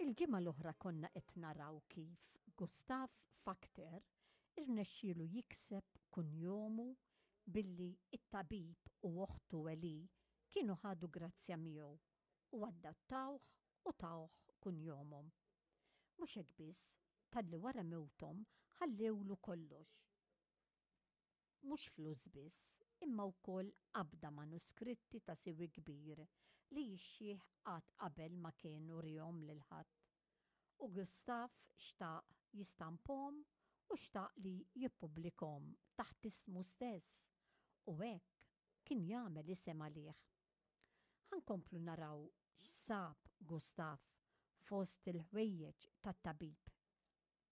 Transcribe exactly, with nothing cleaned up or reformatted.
Il-ġimgħa l-oħra konna qed naraw kif Gustav Fakter irnexxielu jikseb kunjomu billi it-tabib u oħtu Eli kienu ħadu grazzja miegħu u adattawh u tawh kunjomhom. Mhux hekk biss, talli wara mewthom ħallewlu kollox. Mhux flus biss, imma wkoll qabda manuskritti ta' siwi kbir li x-xiħ qatt qabel ma kienu wriehom lil ħadd. U Gustav xtaq jistampahom u xtaq li jippubblikahom taħt ismu stess u hekk kien jagħmel isem għalih. Ħa nkomplu naraw x'sab Gustav fost il-ħwejjeġ tat-tabib.